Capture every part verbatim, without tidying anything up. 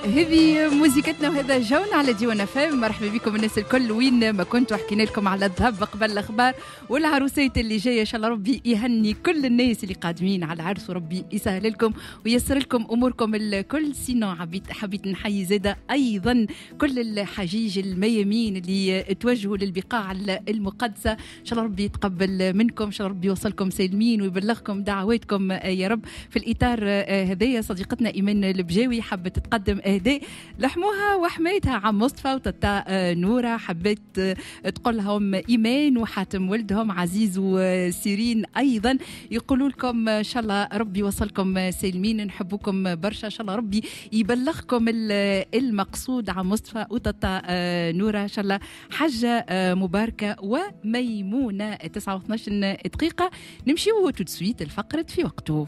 هذه موزيكتنا وهذا جونا على ديوان اف ام. مرحبا بكم الناس الكل وين ما كنتوا. حكينا لكم على الذهب قبل الاخبار والعروسات اللي جايه. ان شاء الله ربي يهني كل الناس اللي قادمين على العرس وربي يسهل لكم ويسر لكم اموركم الكل. sinon حبيت حبيت نحيي زاده ايضا كل الحجيج الميامين اللي توجهوا للبقاع المقدسه. ان شاء الله ربي يتقبل منكم، ان شاء الله ربي يوصلكم سالمين ويبلغكم دعواتكم يا رب. في الاطار هذايا صديقتنا ايمان البجاوي حبت تقدم اهداء لحموها وحمايتها عم مصطفى وتتا نوره. حبيت تقول لهم ايمان وحاتم ولدهم عزيز وسيرين ايضا، يقولوا لكم ان شاء الله ربي يوصلكم سالمين، نحبكم برشا، ان شاء الله ربي يبلغكم المقصود. عم مصطفى وتتا نوره ان شاء الله حجه مباركة وميمونه. تسعة واثناش دقيقه، نمشيو tout de suite الفقرة في وقته.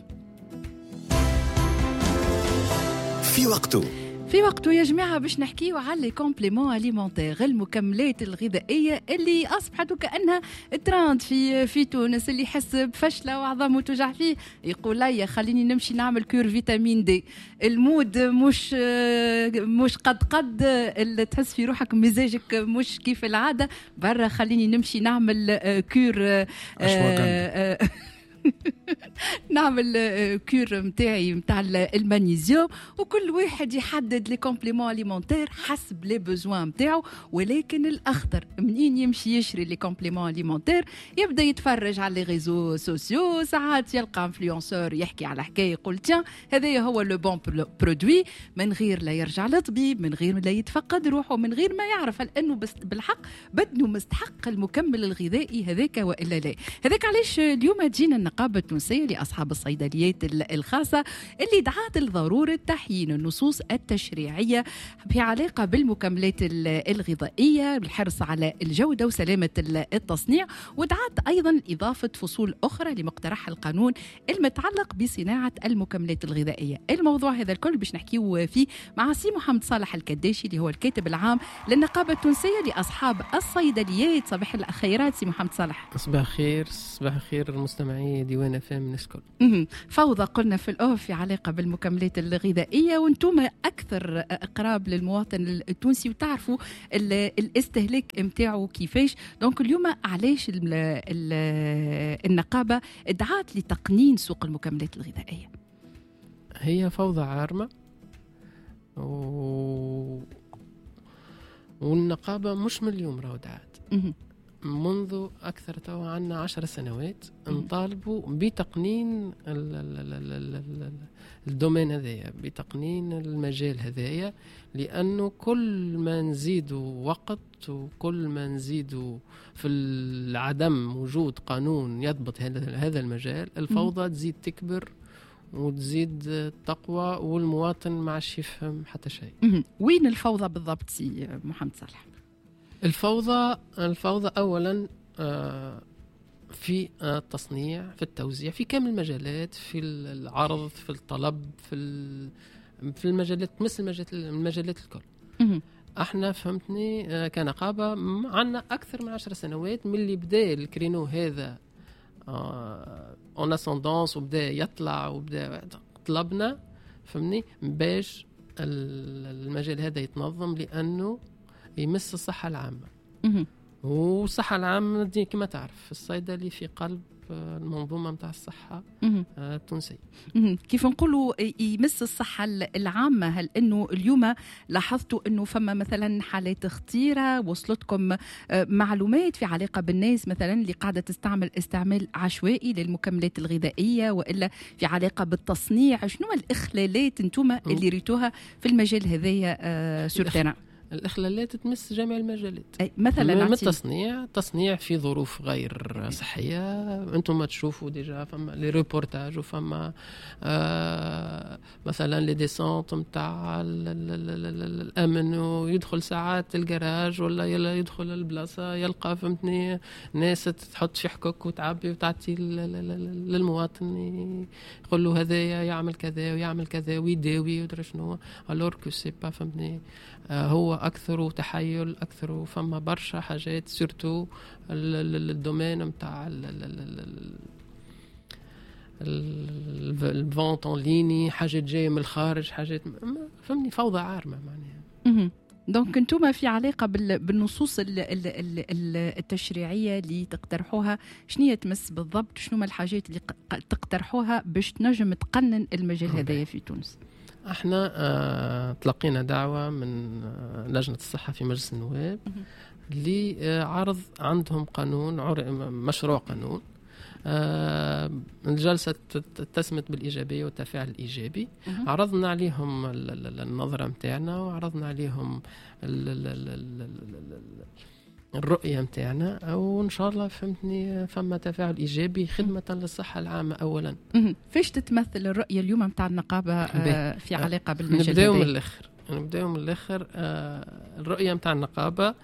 في وقته، في وقته يا جماعة باش نحكيو على les compléments alimentaires، المكملات الغذائية اللي أصبحت وكأنها ترند في في تونس. اللي يحس بفشلة وعظامه توجع فيه يقول لا خليني نمشي نعمل cure vitamine D. ال mood مش مش قد قد، اللي تحس في روحك مزاجك مش كيف العادة، برا خليني نمشي نعمل cure نعمل cure نتاعي نتاع المغنيسيوم. وكل واحد يحدد les compléments alimentaires حسب les besoins نتاعو. ولكن الاخطر منين يمشي يشري les compléments alimentaires يبدا يتفرج على les réseaux sociaux، ساعات يلقى influenceur يحكي على حكاية يقول tiens هذايا هو le bon produit، من غير لا يرجع للطبيب، من غير لا يتفقد روحه، من غير ما يعرف هل انه بالحق بدنه مستحق المكمل الغذائي هذاك والا لا. هذاك علاش اليوم جينا النقابة التونسية لأصحاب الصيدليات الخاصة اللي دعات لضرورة تحيين النصوص التشريعية في علاقة بالمكملات الغذائية بالحرص على الجودة وسلامة التصنيع، ودعت أيضا إضافة فصول أخرى لمقترح القانون المتعلق بصناعة المكملات الغذائية. الموضوع هذا الكل باش نحكيو فيه مع سي محمد صالح الكداشي اللي هو الكاتب العام للنقابة التونسية لأصحاب الصيدليات. صباح الخيرات سي محمد صالح. صباح الخير، صباح الخير المستمعين ديوان اف ام الناس الكل. فوضى قلنا في ال off في علاقة بالمكملات الغذائية، وانتم اكثر اقراب للمواطن التونسي وتعرفوا الاستهلاك نتاعو كيفاش. donc اليوم علاش ال ال النقابة دعات لتقنين سوق المكملات الغذائية؟ هي فوضى عارمة و... والنقابه مش من اليوم راهو دعات، منذ أكثر توا عنا عشر سنوات نطالبوا بتقنين ال domaine هذايا، بتقنين المجال هذايا، لأنه كل ما نزيدوا وقت وكل ما نزيدوا في العدم وجود قانون يضبط هذا المجال، الفوضى تزيد تكبر وتزيد تقوى والمواطن ما عادش يفهم حتى شيء. وين الفوضى بالضبط سي محمد صالح؟ الفوضى الفوضى أولا في التصنيع، في التوزيع، في كامل المجالات، في العرض، في الطلب، في في المجالات، مثل المجالات المجالات الكل. احنا فهمتني كنقابة عندنا أكثر من عشر سنوات من اللي بدا ال créneau هذا en ascendance وبدا يطلع وبدا طلبنا فهمني باش المجال هذا يتنظم، لأنه يمس الصحة العامة. والصحة العامة كما تعرف الصيدلي في قلب المنظومة متاع الصحة التونسية. كيف نقولوا يمس الصحة العامة، هل أنه اليوم لاحظتوا أنه فما مثلا حالات خطيرة وصلتكم معلومات في علاقة بالناس مثلا اللي قاعدة تستعمل استعمال عشوائي للمكملات الغذائية، وإلا في علاقة بالتصنيع؟ شنو الإخلالات أنتم اللي ريتوها في المجال هذايا sur terrain؟ الإخلالات تمس جميع المجالات. أي مثلا من التصنيع، تصنيع في ظروف غير صحية، أنتم ما تشوفوا déjà فما les reportages وفما آه مثلا les descentes نتاع الأمن، ويدخل ساعات الجراج ولا يدخل البلاصة يلقى فهمتني ناس تحط في حكك وتعبي وتعطي للمواطن، يقول له هذا يعمل كذا ويعمل كذا ويداوي ودرا شنو، alors que c'est pas فهمتني هو أكثر تحيل، أكثر فما برشا حاجات surtout ال domaine نتاع ال vente en ligne، حاجات جاية من الخارج، حاجات فهمني فوضى عارمة معناها. donc انتم في علاقة بالنصوص التشريعية اللي تقترحوها، شنو تمس بالضبط؟ شنو ما الحاجات اللي تقترحوها باش تنجم تقنن المجال هذايا في تونس؟ احنا اه تلقينا دعوه من لجنة الصحة في مجلس النواب لعرض عندهم قانون، مشروع قانون. آه الجلسة اتسمت بالإيجابية والتفاعل الإيجابي. عرضنا عليهم النظرة متاعنا وعرضنا عليهم الرؤية متاعنا، وإن شاء الله فهمتني فما تفاعل إيجابي خدمة للصحة العامة أولا. فاش تتمثل الرؤية اليوم متاع النقابة آه في علاقة بالمجال؟ نبداو من الآخر، نبداو من الآخر. آه الرؤية متاع النقابة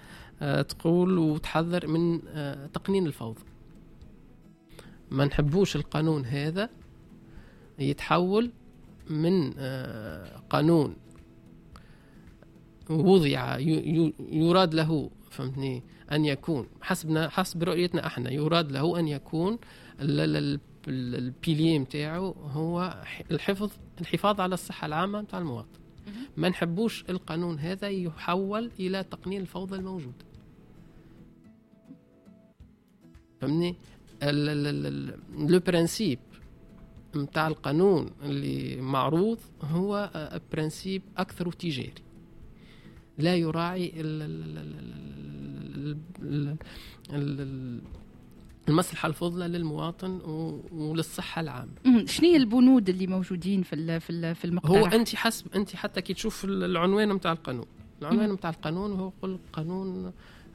آه تقول وتحذر من آه تقنين الفوضى. ما نحبوش القانون هذا يتحول من قانون وضع يراد له فهمتني أن يكون حسبنا حسب رؤيتنا احنا يراد له أن يكون ال pilier متاعه هو الحفظ الحفاظ على الصحة العامة متاع المواطن. ما نحبوش القانون هذا يحول إلى تقنين الفوضى الموجود، فهمني. le principe نتاع القانون اللي معروض هو principe اكثر تجاري، لا يراعي المصلحة الفضلى للمواطن وللصحه العامة. شنو هي البنود اللي موجودين في في في المقترح؟ هو انت حسب انت حتى كي تشوف العنوان نتاع القانون، العنوان نتاع القانون هو قل قانون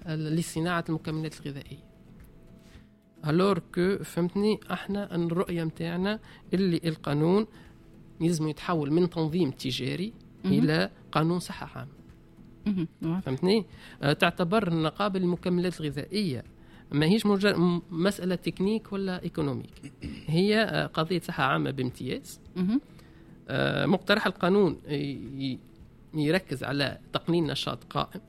لصناعة المكملات الغذائية. alors que فهمتني احنا ان الرؤية متاعنا اللي القانون يلزم يتحول من تنظيم تجاري الى قانون صحة عامة. فهمتني. تعتبر النقابة المكملات الغذائية ماهيش مجرد مسالة تكنيك ولا économique، هي قضية صحة عامة بامتياز. مقترح القانون يركز على تقنين نشاط قائم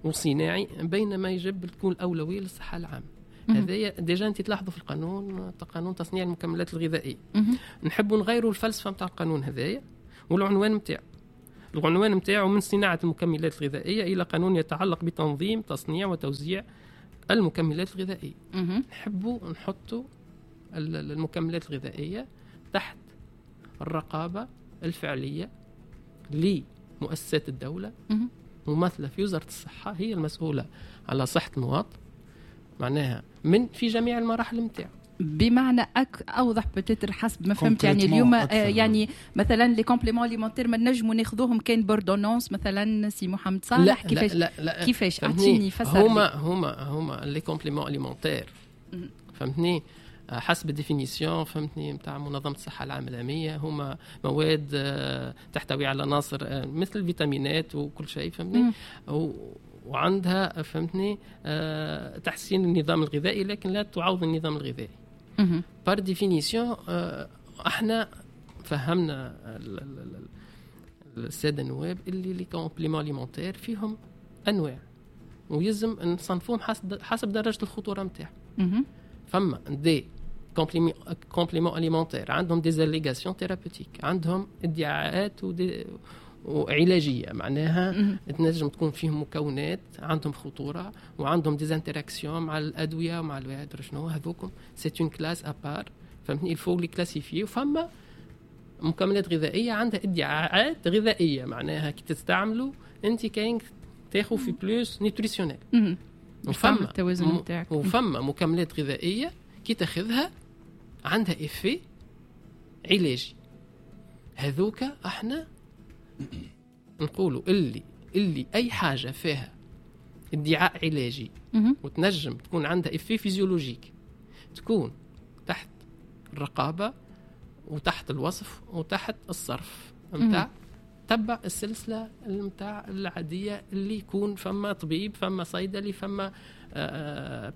وصناعي، بينما يجب تكون الاولوية للصحة العامة. هذايا déjà انت تلاحظوا في القانون، قانون تصنيع المكملات الغذائية. نحبوا نغيروا الفلسفة نتاع القانون هذايا والعنوان نتاعو. العنوان نتاعو من صناعة المكملات الغذائية الى قانون يتعلق بتنظيم تصنيع وتوزيع المكملات الغذائية. نحبوا نحطوا المكملات الغذائية تحت الرقابة الفعلية لمؤسسات الدولة ممثلة في وزارة الصحة، هي المسؤولة على صحة المواطن معناها من في جميع المراحل نتاعو. بمعنى أك اوضح peut-être حسب ما فهمت، يعني اليوم يعني مثلا les compléments alimentaires ما نجموا ناخذوهم كان ب ordonnance مثلا سي محمد صالح؟ كيفاش؟ لا لا كيفاش؟ اعطيني فسر. هما هما هما les compléments alimentaires فهمتني حسب ال définition فهمتني نتاع منظمة الصحة العالمية، هما مواد تحتوي على عناصر مثل الفيتامينات وكل شيء فهمتني، وعندها فهمتني أه تحسين النظام الغذائي لكن لا تعوض النظام الغذائي. par définition أه احنا فهمنا السادة النواب اللي les compléments alimentaires فيهم انواع ويلزم نصنفوهم حسب حسب درجه الخطورة نتاعهم. فما des compléments alimentaires عندهم des allégations thérapeutiques، عندهم ادعاءات و des وعلاجيه معناها تنجم تكون فيهم مكونات عندهم خطورة وعندهم des interactions مع الادوية ومع الواد شنو هذوكم، c'est une classe à part فهمتني، il faut les classifier. وفما مكملات غذائية عندها ادعاءات غذائية معناها كي تستعملوا انت كاين تاخذ في plus nutritionnel. وفما التوازن نتاعك. وفما مكملات غذائية كي تاخذها عندها effet علاجي، هذوك احنا نقولوا اللي اللي اي حاجة فيها ادعاء علاجي وتنجم تكون عندها effet physiologique تكون تحت الرقابة وتحت الوصف وتحت الصرف نتاع تبع السلسلة نتاع العادية اللي يكون فما طبيب فما صيدلي فما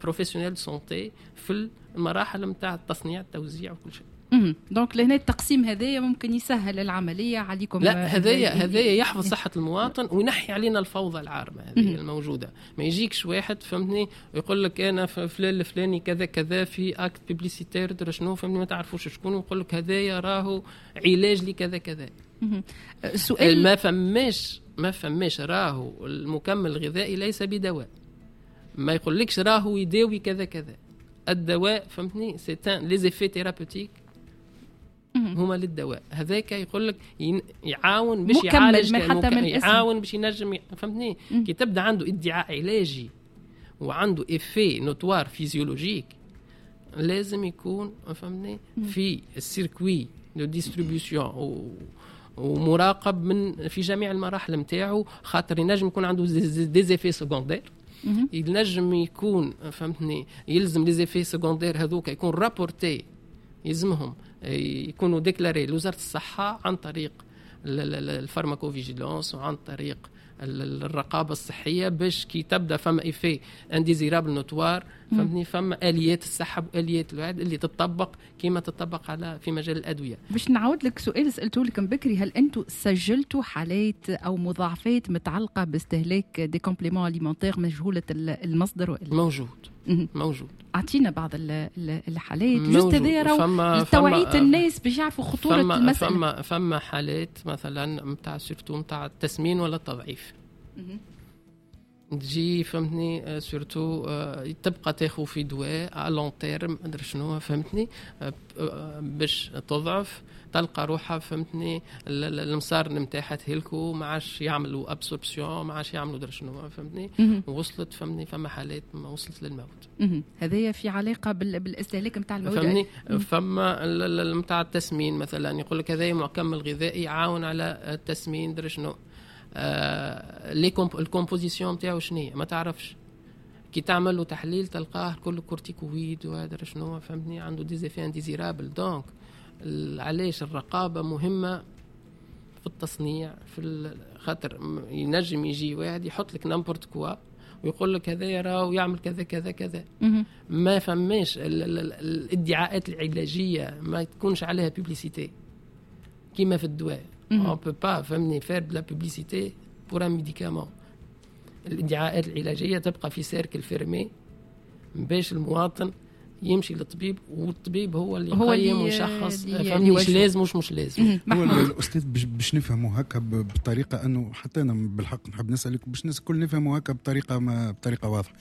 professionnel santé في المراحل نتاع التصنيع التوزيع وكل شيء. donc لهنا التقسيم هذايا ممكن يسهل العملية عليكم. لا، هذايا هذايا يحفظ صحة المواطن وينحي علينا الفوضى العارمه هذه الموجوده. ما يجيكش واحد، فهمتني، ويقول لك انا فلان الفلاني كذا كذا في acte publicitaire درا شنو، فهمتني، ما تعرفوش شكون، ويقول لك هذايا راهو علاج لكذا كذا. سؤال، ما فماش ما فماش راهو المكمل الغذائي ليس بدواء، ما يقولكش راهو يداوي كذا كذا. الدواء، فهمتني، c'est les effets thérapeutiques هما للدواء. هذاك يقول لك يعاون باش يعالج، حتى من يعاون باش ينجم، فهمتني. كي تبدا عنده ادعاء علاجي وعنده effet notoire physiologique لازم يكون، فهمتني، في ال circuit de distribution ومراقب من في جميع المراحل نتاعو، خاطر ينجم يكون عنده des effets secondaires، ينجم يكون، فهمتني، يلزم les effets secondaires هذوك يكون rapportés، يلزمهم يكونوا déclarés لوزارة الصحة عن طريق ال pharmacovigilance وعن طريق الرقابة الصحيه، باش كي تبدا فما effet indésirable notoire، فهمتني، فما اليات السحب واليات الوعد اللي تطبق كما تطبق على في مجال الادويه. باش نعاود لك سؤال سالته لك بكري، هل انتم سجلتوا حالات او مضاعفات متعلقه باستهلاك des compléments alimentaires مجهولة المصدر وإلا؟ موجود، موجود. اعطينا بعض الحالات juste هذايا راهو لتوعية الناس باش يعرفوا خطورة فما المساله. فما فما حالات مثلا نتاع surtout نتاع التسمين ولا التضعيف تجي، فهمتني، surtout آه، تبقى تاخذ في دواء à long terme ادري شنو، فهمتني، آه، آه، باش تضعف، تلقى روحها، فهمتني، المصار نتاعها تهلكوا، ما عادش يعملوا absorption، ما عادش يعملوا درا شنو، فهمتني، وصلت، فهمتني، فما حالات ما وصلت للموت. هذايا في علاقة بالاستهلاك نتاع المواد. فهمتني، فما نتاع التسمين مثلا يقول لك هذايا مكمل غذائي يعاون على التسمين درا شنو، آه les ال composition نتاعو شنو ما تعرفش، كي تعمل له تحليل تلقاه كله corticoïdes وهذا شنو، فهمتني، عنده des effets indésirables. donc علاش الرقابة مهمة في التصنيع؟ في خاطر ينجم يجي واحد يحط لك n'importe quoi ويقول لك هذا راهو يعمل كذا كذا كذا. ما فماش الادعاءات العلاجية ما تكونش عليها publicité كيما في الدواء. on peut pas، فهمني، faire de la publicité pour un médicament. الادعاءات العلاجية تبقى في cercle fermé باش المواطن يمشي للطبيب، والطبيب هو اللي يقيم ويشخص، فهمني، مش لازم مش مش لازم. هو الاستاذ باش نفهموا هكا بطريقة انه حتى انا بالحق نحب نسالك باش الناس الكل نفهموا هكا بطريقة ما بطريقة واضحه،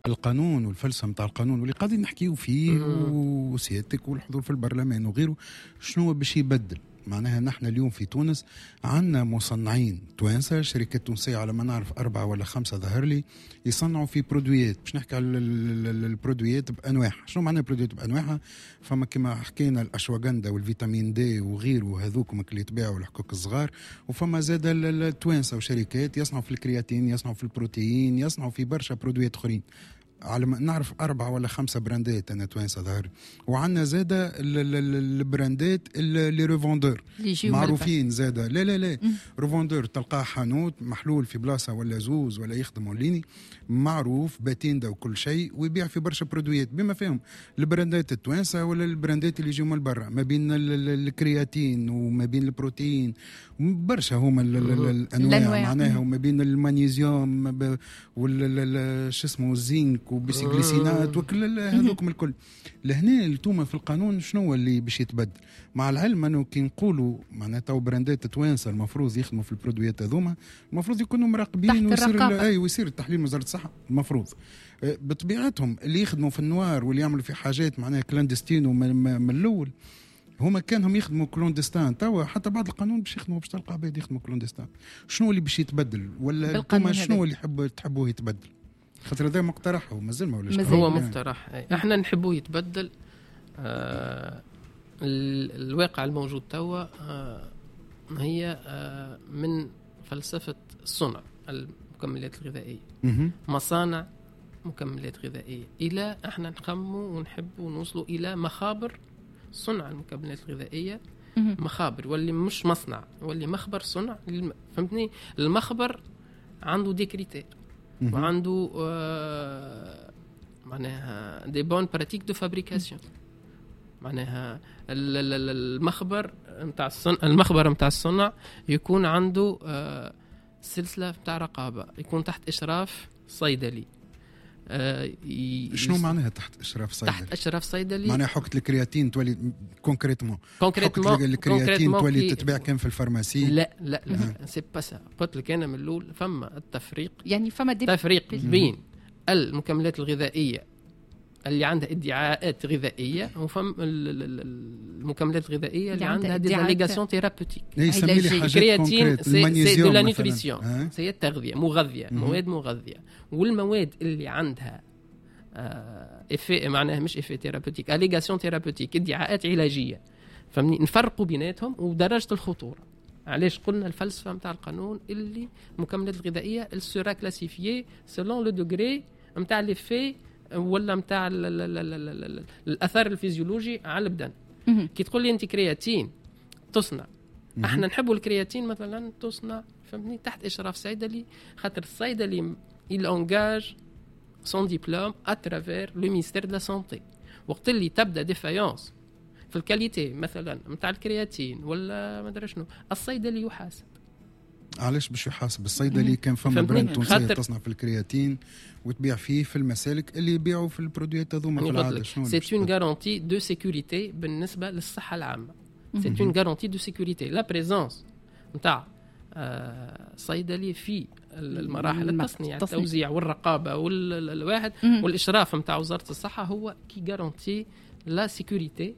القانون والفلسفة نتاع القانون واللي قاعدين نحكيو فيه وسيادتك والحضور في البرلمان وغيره، شنو باش يبدل؟ معناها نحن اليوم في تونس عندنا مصنعين توانسه، شركات تونسية على ما نعرف اربعة ولا خمسة ظهر لي يصنعوا في produit ات. باش نحكي على ال produit ات بانواعها، شنو معنى produit ات بانواعها؟ فما كما حكينا الاشواغندا وال vitamine D وغيره، هذوك اللي يتباعوا الحكوك الصغار، وفما زاد التوانسة وشركات يصنعوا في الكرياتين، يصنعوا في البروتين، يصنعوا في برشا produit ات اخرين. على ما نعرف أربعة ولا خمسة brand ات أنا توانسة ظهر، وعندنا زادة ال brand ات les revendeurs معروفين زادة. لا لا لا، revendeur تلقاه حانوت محلول في بلاصة ولا زوز ولا يخدم en ligne، معروف patente وكل شيء، ويبيع في برشا produit ات بما فيهم ال brand ات التوانسة ولا ال brand ات اللي يجيو من برا، ما بين الكرياتين وما بين البروتين، برشا هما الأنواع معناها، وما بين المغنيسيوم وال شو اسمه الزنك و bisglycinate وكل هذوكم الكل. لهنا التوما في القانون شنو اللي باش يتبدل؟ مع العلم انه كي نقولوا معناتها تو brand ات توانسة المفروض يخدموا في ال produit ات هذوما، المفروض يكونوا مراقبين ويصير اي ويصير التحليل من وزارة الصحة المفروض. بطبيعتهم اللي يخدموا في ال noir واللي يعملوا في حاجات معناها clandestine من الاول، هما كانهم يخدموا clandestin، توا حتى بعد القانون باش يخدموا، باش تلقى عباد يخدموا clandestin. شنو اللي باش يتبدل؟ ولا انتم شنو اللي يحب تحبوه يتبدل؟ خاطر هذا مقترح ومازال ما ولاش هو مقترح. احنا نحبوه يتبدل. آه الواقع الموجود توا آه هي آه من فلسفة صنع المكملات الغذائية، مصانع مكملات غذائية، إلى احنا نخموا ونحبوا نوصلوا إلى مخابر صنع المكملات الغذائية. مخابر واللي مش مصنع، واللي مخبر صنع، فهمتني. المخبر عنده des critères وعنده آه معناها des bonnes pratiques de fabrication. معناها المخبر نتاع الصنع، المخبر نتاع الصنع يكون عنده آه، سلسلة نتاع رقابه، يكون تحت اشراف صيدلي. آه شنو معناها تحت اشراف صيدلي؟ تحت اشراف صيدلي معناها حكة الكرياتين تولي concrètement concrètement الكرياتين تولي تتباع كان في ال pharmacie؟ لا لا لا، c'est pas ça. قلت لك انا من الاول فما التفريق، يعني فما des تفريق بين المكملات الغذائية اللي عندها ادعاءات غذائية وفم المكملات الغذائية اللي عندها des allégations thérapeutiques. الكرياتين c'est de la nutrition، c'est التغذيه، مغذيه، مواد مغذيه. والمواد اللي عندها effet، معناها مش effet thérapeutique، allégation thérapeutique، ادعاءات علاجيه، فهمني؟ نفرقوا بيناتهم ودرجة الخطوره. علاش قلنا الفلسفة نتاع القانون اللي المكملات الغذائية sera classifiée selon le degré نتاع l'effet ولا نتاع الاثر الفيزيولوجي على البدن. كي تقول لي انت كرياتين تصنع، احنا نحبوا الكرياتين مثلا تصنع، فهمتني، تحت اشراف صيدلي، خاطر الصيدلي il engage son diplôme à travers le ministère de la santé. وقت اللي تبدا défaillance في ال qualité مثلا نتاع الكرياتين ولا ما ادري شنو، الصيدلي يحاسب. علاش باش يحاسب الصيدلي؟ كان فما brand تونسية تصنع في الكرياتين وتبيع فيه في المسالك اللي يبيعوا في ال produit ات هذوما في العاده، شنو؟ c'est une garantie de sécurité بالنسبة للصحة العامه، c'est une garantie de sécurité la présence نتاع صيدلي في المراحل التصنيع، التوزيع والرقابه والواحد والاشراف نتاع وزارة الصحه، هو qui garantit la sécurité.